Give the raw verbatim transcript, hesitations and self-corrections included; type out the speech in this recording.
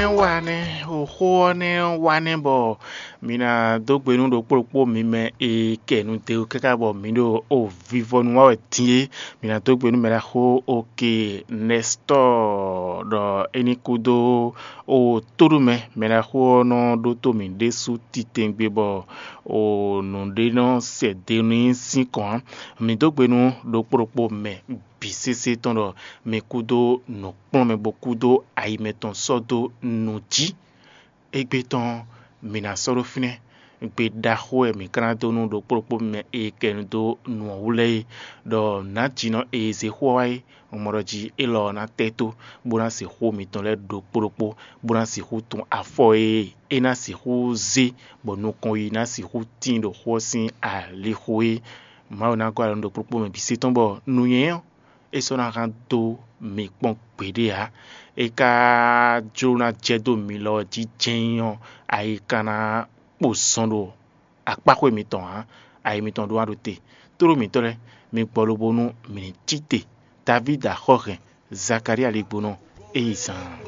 Wa nɛ́, xó ɔ́ nɛ́ wa nɛ́ bɔ mi ná dó gbe nú ɖokpó ɖokpó mi mɛ e kɛ nu de káká bɔ mǐ ɖo o vivɔnu wa wɛ din é. Mi ná dó gbe nú mɛ ɖaxó oke Nɛstɔ́ɔ ɖɔ é ní kúdó o tóɖomɛ mɛ ɖaxó ɔ́ nɔ ɖótó mǐ ɖésú titewungbe bɔ o nǔɖé nɔ sɛ de n'i sín kɔn ǎ. Mǐ dó gbe nú ɖokpó ɖokpó mɛ bǐ sésé tɔn ɖɔ mi kúdó nǔkplɔ́nmɛ bó kúdó ayi mɛtɔn sɔ́ dó nǔ jí. Égbé tɔn mi ná sɔ́ ɖó fínɛ́. Gbe ɖaxó wɛ mǐ ka ná dó nú ɖokpó ɖokpó mɛ e kɛ nu dó nǔ ɔ́ wú lɛ́ɛ é, ɖɔ nǎjínɔ e zé xó ɔ́ wá é, un mɔ ɖɔ jí élɔ́ ɔ́ ná tɛ́ tó, bó ná sixú xó mitɔn lɛ́ɛ ɖokpó ɖokpó, bó ná sixú tun afɔ e é ná sixú zé, bɔ nukɔn yi ná sixú tíin ɖo xó ɔ́ sín alixo é. Mawu ná gɔ́ alɔ nú ɖokpó ɖokpó mɛ bǐ se tɔn bɔ nǔnywɛ́ ɔ́ é sɔ́ ná hán dó mi kpɔ́n gbeɖé ǎ. É ka jló ná jɛ dó mi lɔ jí jɛ́n ɔ́, ayi ka ná kpo zɔn ɖo akpáxwé mitɔn ǎ. Ayi mitɔn ɖó wá ɖo te. Tlóló mǐtɔn lɛ́ɛ, mi gbɔ lobo nú mǐ ní cí te. Davídi axɔ́hɛn, Zakalía ligbonɔ, é yi zaan.